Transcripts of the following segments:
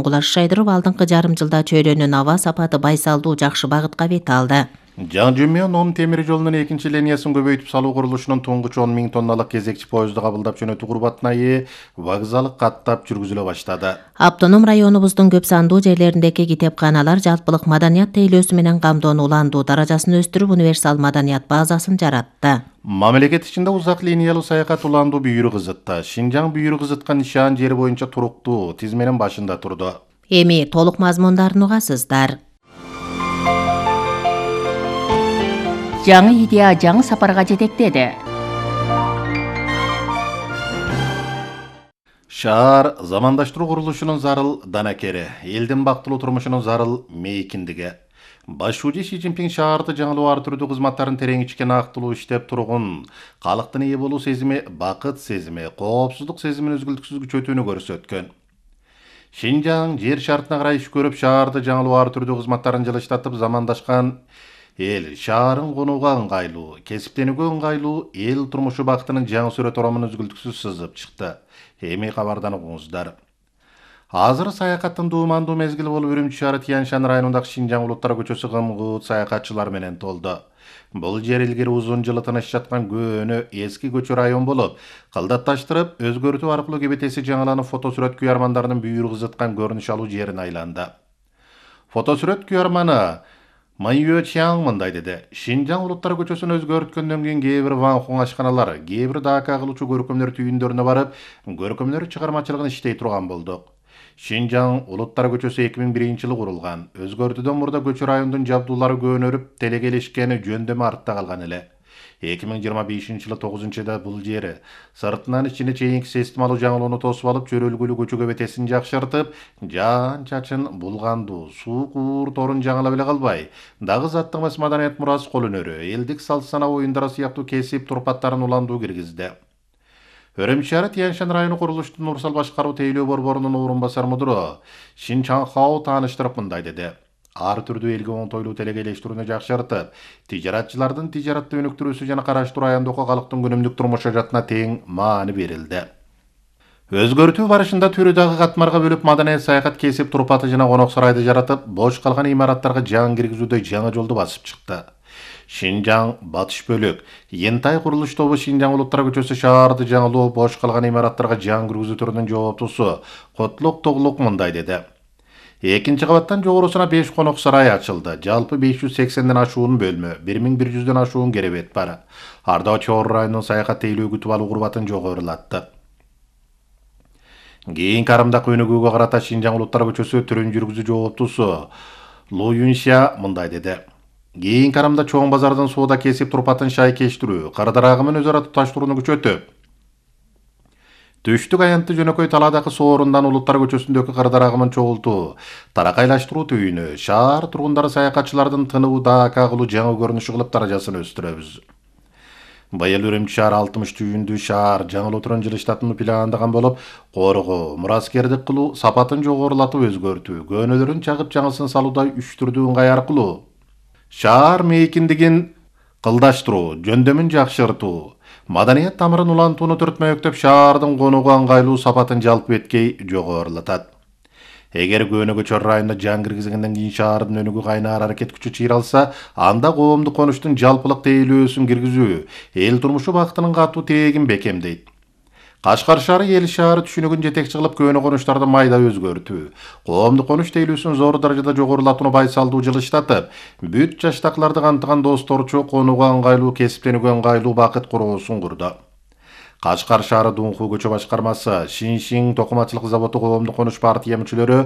курулушун кулашшайдырып, алдыңкы жарым жылда чөйрөнүн аба сапаты байсалдуу жакшы багытка бет алды. Жаңы Жумион 10 темир жолунун экинчи линиясын көбөйтүп салуу курулушунун туңгуч 10 000 тонналык кезекчи поезду кабылдап жөнөтүү курбатына ээ вокзалы каттап жүргүзүлө баштады. Автоном районубуздун көп сандуу жерлериндеги китепканалар жалпылык маданият тейлөөсү менен камдоону уландуу даражасын өстүрүп, универсал маданият базасын жаратты. Мамлекет ичинде узак линиялуу саякат уландуу бүйүрү кызытты. Шинжаң бүйүрү кызыткан нишан жери боюнча туруктуу тизменин башында турду. Эми толук мазмундарын угасыздар. Жаңы идея жаңы сапарга жетектеди. Шаар замандаштыруу курулушунун зарыл данакери, элдин бактылуу турмушунун зарыл мейкиндиги. Башчы Си Цзиньпин шаарды жаңылуу ар түрдүү кызматтарын терең ичкен актылуу иштеп тургун, калктын ээ болуу сезими, бакыт сезими, коопсуздук сезимин үзгүлтүксүз күчөтүүнү көрсөткөн. Шинжаң жер шартына карай иш көрүп, шаарды жаңылуу ар түрдүү кызматтарын жылыштатып, замандашкан эл шаарын конууга ыңгайлуу, кесиптенүүгө ыңгайлуу эл турмушу бактынын жаңы сүрөт оромун үзгүлтүксүз сызып чыкты. Эми кабардан угуңуздар. Азыр саякаттын дуумандуу мезгили болуп, Үрүмчү шаары Тяньшань районундагы Шинжаң улуттар көчөсү гым-гыт саякатчылар менен толду. Бул жер илгери узун жылы тыныч жаткан көөнө эски көчө район болуп, кылдатташтырып, өзгөртүү аркылуу кебетеси жаңыланып, фотосүрөт күйөрмандарынын бүйүрү кызыткан көрүнүш алуу жерине айланды. Фотосүрөт күйөрманы Майюэ Чаң мындай деди: Шинжаң улуттар көчөсүн өзгөрткөндөн кийин кээ бир Ван Хун ашканалар, кээ бир дака кылуучу көркөмдөр түйүндөрүнө барып, көркөмдөр чыгармачылыгын иштей турган болдук. Шинжаң улуттар көчөсү 2001-жылы курулган. Өзгөртүүдөн мурда көчө райондун жабдуулары көөнөрүп, телекелешкени жөндөмү артта калган эле. 2025-жылы 9-айда бул жери сыртынан ичине чейинки системалуу жаңылоону тосуп алып, чөрөлгүлүү көчө көбетесин жакшыртып, жаан чачын булгандуу суу куур торун жаңылап эле калбай, дагы заттык эмес маданият мурасы кол өнөрү, элдик салт санаа оюндары сыяктуу кесип турпаттарын уландуу киргизди. Үрүмчү шаары Тяньшань району курулуштун Урсал башкаруу тейлөө борборунун орун басар мудуру Шин Чаңхао тааныштырып мындай деди: ар түрдүү элге оңтойлуу телекелештирүүнү жакшыртып, тижаратчылардын тижаратты өнүктүрүүсү жана караштыруу аяндоого калктын күнүмдүк турмуш жаатына тең маани берилди. Өзгөртүү барышында түрү дагы катмарга бөлүп, маданият саякат кесип турпаты жана конок сарайды жаратып, бош калган имараттарга жан киргизүүдө жаңы жолду басып чыкты. Шинжаң батыш бөлүк Ентай курулуш тобу Шинжаң улуттар көчөсү шаарды жаңылоо, бош калган имараттарга жан киргизүү түрүнүн жооптусу Котлок Тоглок мындай деди: Экинчи кабаттан жогорусуна 5 конок сарай ачылды. Жалпы 580ден ашуун бөлмө, 1100дөн ашуун керебет бар. Ардаа Чоор районунун саякат тейлөө күтүп алуу курбатын жогорулатты. Кийинки карымдак өнүгүүгө карата Шинжаң улуттар көчөсү түрүн жүргүзүү жооптусу Лу Юнься мындай деди: Кийинки карымда чоң базардын соода кесип турпатын шайкештирүү, кардарагымын өз ара туташтырууну күчөтүп, түштүк аянтты жөнөкөй талаадагы соорундан улуттар көчөсүндөгү кардарагымын чогултуу, таракайлаштыруу түйүнү, шаар тургундары саякатчылардын тыныбы дака кылуу жаңы көрүнүшү кылып даражасын өстүрөбүз. Быйыл Үрүмчү шаар 60 түйүндүү шаар жаңылоо тургун жылыштатууну пландаган болуп, коргоо, мураскердик кылуу, сапатын жогорулатып өзгөртүү, көөнөлөрүн чагып жаңысын салуудай 3 түрдүү ыңгай аркылуу шаар мейкиндигин кылдаштыруу, жөндөмүн жакшыртуу, маданият тамырын улантууну түртмөктөп, шаардын конууга ыңгайлуу сапатын жалпы эткей жогорулатат. Эгер көөнөгө Чор районуна жан киргизгенден кийин шаардын өнүгүү кайнаар аракет күчү чыйралса, анда коомдук конуштун жалпылык тейлөөсүн киргизүү эл турмушу бактынын катуу тегин бекемдейт. Кашкар шаары эл шаары түшүнүгүн жетекчи кылып, көөнө конуштарды майда өзгөртүү, коомдук конуш тейлөөсүн зор даражада жогорулатууну байсалдуу жылыштатып, бүт жаштакыларды камтыган досторчу, конууга ыңгайлуу, кесиптенүүгө ыңгайлуу бакыт короосун курду. Кашкар шаары Дунху көчө башкармасы, Шиншин токумачылык заводу коомдук конуш партия мүчөлөрү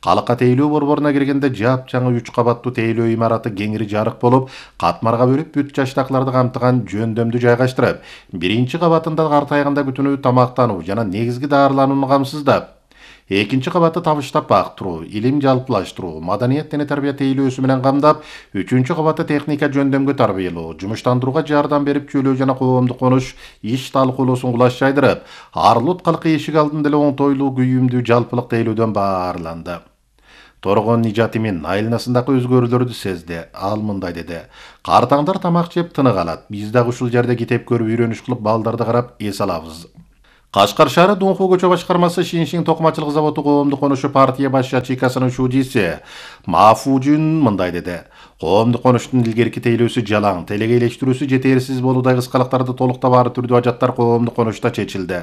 калыкка тейлөө борборуна киргенде жапжаңы 3 кабаттуу тейлөө имараты кеңири жарык болуп, катмарга бөлүп бүт жаштакыларды камтыган жөндөмдү жайгаштырып, биринчи кабатында картайганда күтүнүү, тамактануу жана негизги даарыланууну камсыздап, экинчи кабатты табыштап бактыруу, илим жалпылаштыруу, маданият дене тарбия тейлөөсү менен камдап, үчүнчү кабатты техника жөндөмгө тарбиялоо, жумуштандырууга жардам берип, чөйлөө жана коомдук конуш иш талкуулоосун кулашчайдырып, Арлут калкы эшик алдында эле оңтойлуу күйүмдүү жалпылык тейлөөдөн баарланды. Торгон Нижатимин айланасындагы өзгөрүүлөрдү сезди. Ал мындай деди: Картаңдар тамак жеп тынык алат. Биз дагы ушул жерде китеп көрүп, үйрөнүш кылып, балдарды карап эс алабыз. Кашкар шаары Дунху көчө башкармасы Шиншин токумачылык заводу коомдук конушу партия баш ячейкасынын шуудиси Мафужун мындай деди. Коомдук конуштун илгерки тейлөөсү жалаң, телегейлештирүүсү жетерсиз болуудай кыскалыктарды толуктап ар түрдүү ажаттар коомдук конушта чечилди.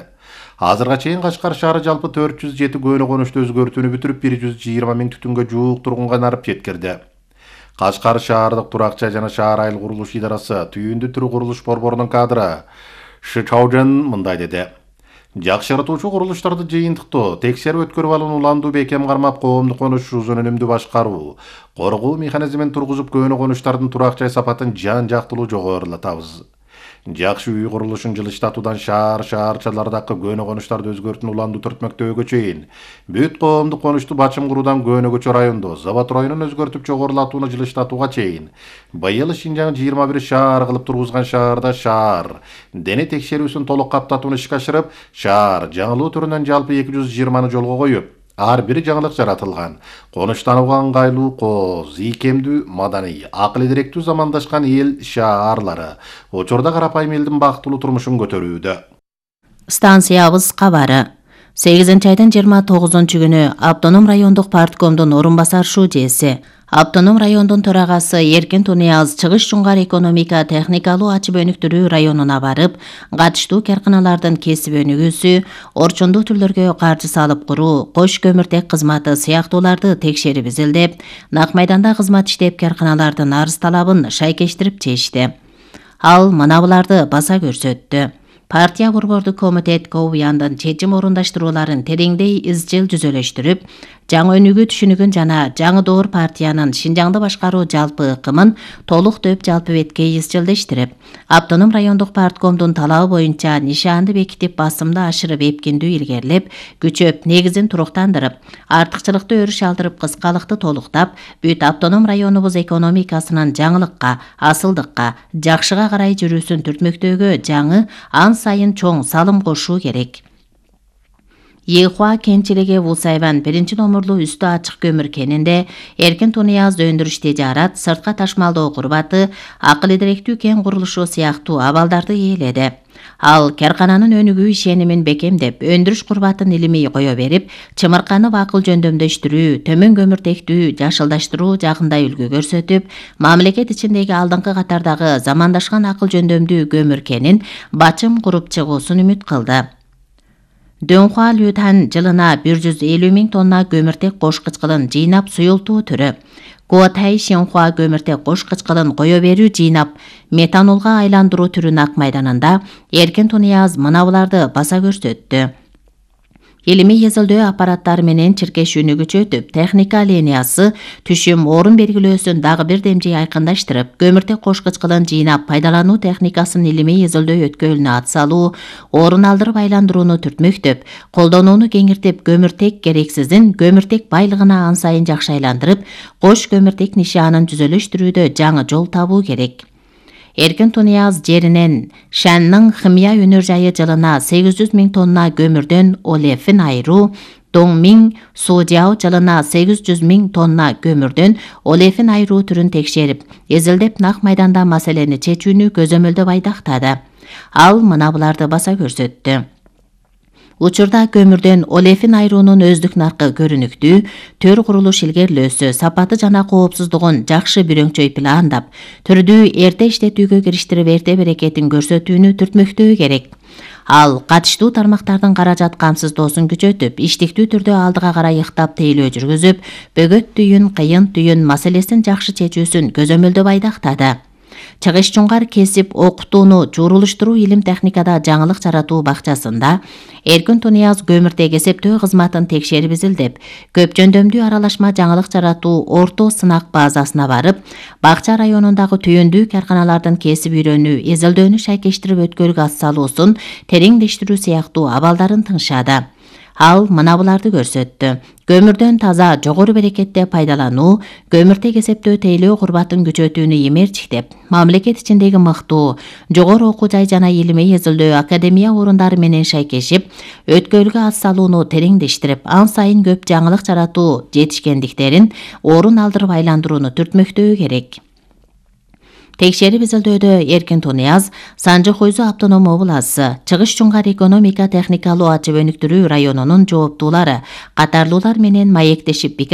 Азырга чейин Кашкар шаары жалпы 407 көөнө конушту өзгөртүүнү бүтүрүп 120 миң түтүнгө жуук тургунга нарып жеткирди. Кашкар шаардык турак-жай жана шаар айыл курулуш идарасы түйүндү түрү курулуш борборунун кадры Шичаужен мындай деди. Жакшыртуучу курулуштарды жыйынтыктоо, текшерип өткөрүп алууну уландуу бекем кармап, коомдук конуш узун өнүмдүү башкаруу, коргоо механизмин тургузуп көөнө конуштардын турак-жай сапатын жан-жактылуу жогорулатабыз. Жакшы үй курулушун жылыштатуудан шаарчалардагы көөнө конуштарды өзгөртүүнү уландуу түртмөктөөгө чейин бүт коомдук конушту бачым куруудан көөнө көчө райондо завод районун өзгөртүп жогорулатууну жылыштатууга чейин быйыл Шинжаң 21 шаар кылып тургузган шаарда шаар дене текшерүүсүн толук каптатууну ишке ашырып, шаар жаңылуу түрүнөн жалпы 220 жолго коюп, ар бир жаңылык жаратылган. Конуштанууга ыңгайлуу, кооз, ийкемдүү, маданий, акыл идиректүү замандашкан эл шаарлары учурда карапайым элдин бактылуу турмушун көтөрүүдө. Станциябыз кабары. 8-айдын 29-күнү Автоном райондук парткомдун орун басар шуудиси, Автоном райондун төрагасы Эркин Тунияз Чыгыш Жуңгар экономика техникалуу ачып өнүктүрүү районуна барып, катыштуу карканалардын кесип өнүгүүсү, орчундуу түрлөргө каржы салып куруу, кош көмүртек кызматы сыяктууларды текшерип изилдеп, Нак майданда кызмат иштеп карканалардын арыз талабын шайкештирип чечти. Ал мына буларды баса көрсөттү. Партия борбордук комитет КОУЯндын чечим орундаштырууларын тереңдей изчил жүзөлөштүрүп, жаңы өнүгүү түшүнүгүн жана жаңы доор партиянын Шинжаңды башкаруу жалпы ыкымын толук дөп жалпы бетке изчилдештирип, Автоном райондук парткомдун талабы боюнча нишаанды бекитип басымды ашырып эпкиндүү илгерлеп, күчөп негизин туруктандырып, артыкчылыкты өрүш алдырып кыскалыкты толуктап, бүт Автоном районубуз экономикасынын жаңылыкка, асылдыкка, жакшыга карай жүрүүсүн түртмөктөөгө жаңы ан сайын чоң салым кошуу керек. Ехуа кенчилиги Вусайван 1-номурлуу үстү ачык көмүр кенинде Эркин Тунияз өндүрүш тежарат, сыртка ташмалдоо курбаты, акыл идиректүү кен курулушу сыяктуу абалдарды ээледи. Ал каркананын өнүгүү ишенимин бекемдеп, өндүрүш курбатын илимий кое берип, чымырканы акыл жөндөмдөштүрүү, төмөн көмүртектүү жашылдаштыруу жагында үлгү көрсөтүп, мамлекет ичиндеги алдыңкы катардагы замандашкан акыл жөндөмдүү көмүр кенин бачым куруп чыгуусун үмүт кылды. Дөнхуа Лютан жылына 150 миң тонна көмүртек кош кычкылын жыйнап суюлтуу түрү. Куотай Шинхуа көмүртек кош кычкылын кое берүү жыйнап метанолго айландыруу түрү Нак майданында Эркин Тунияз мына буларды баса көрсөттү. Илимий изилдөө аппараттары менен чиркешүүнү күчөтүп, техника линиясы түшүм орун белгилөөсүн дагы бир демжей айкындаштырып, көмүртек кош кычкылын жыйнап пайдалануу техникасын илимий изилдөө өткөлүнө ат салуу, орун алдырып айландырууну түртмөктөп, колдонууну кеңиртип, көмүртек керексизин көмүртек байлыгына ан сайын жакшы айландырып, кош көмүртек нишаанын жүзөлөштүрүүдө жаңы жол табуу керек. Эркин Тунияз жеринен Шанның химия өнөр жайы жылына 800 миң тонна көмүрдөн олефин айыруу, Доңмиң Судяо жылына 800 миң тонна көмүрдөн олефин айыруу түрүн текшерип, изилдеп Нак майданда маселени чечүүнү көзөмөлдөп айдактады. Ал мына буларды баса көрсөттү. Учурда көмүрдөн олефин айыруунун өздүк наркы көрүнүктүү, төр курулуш илгерилөөсү, сапаты жана коопсуздугун жакшы бүрөңчөй пландап, түрдүү эрте иштетүүгө кириштирип эрте берекетин көрсөтүүнү түртмөктөө керек. Ал катыштуу тармактардын каражат камсыздоосун күчөтүп, иштиктүү түрдө алдыга карай ыктап тейлөө жүргүзүп, бөгөт түйүн, кыйын түйүн маселесин жакшы чечүүсүн көзөмөлдөп айдактады. Чыгыш Жуңгар кесип окутууну журулуштуруу илим техникада жаңылык жаратуу бакчасында Эркин Тунияз көмүртек эсептөө кызматын текшерип изилдеп, көп жөндөмдүү аралашма жаңылык жаратуу орто сынак базасына барып, бакча районундагы түйүндүү карканалардын кесип үйрөнүү, изилдөөнү шайкештирип өткөлгө ат салуусун тереңдештирүү сыяктуу абалдарын тыңшады. Ал мына буларды көрсөттү. Көмүрдөн таза, жогору берекетте пайдалануу, көмүртек эсептөө тейлөө курбатын күчөтүүнү эмерчиктеп, мамлекет ичиндеги мыктуу, жогору окуу жай жана илимий изилдөө академия орундары менен шайкешип, өткөлгө ат салууну тереңдештирип, ан сайын көп жаңылык жаратуу жетишкендиктерин орун алдырып айландырууну түртмөктөө керек. Текшерип изилдөөдө Эркин Тунияз, Санжы Хойзу автоном обласы, Чыгыш Чуңкар экономика техникалуу ачып өнүктүрүү районунун жооптуулары катарлуулар менен маектешип пикир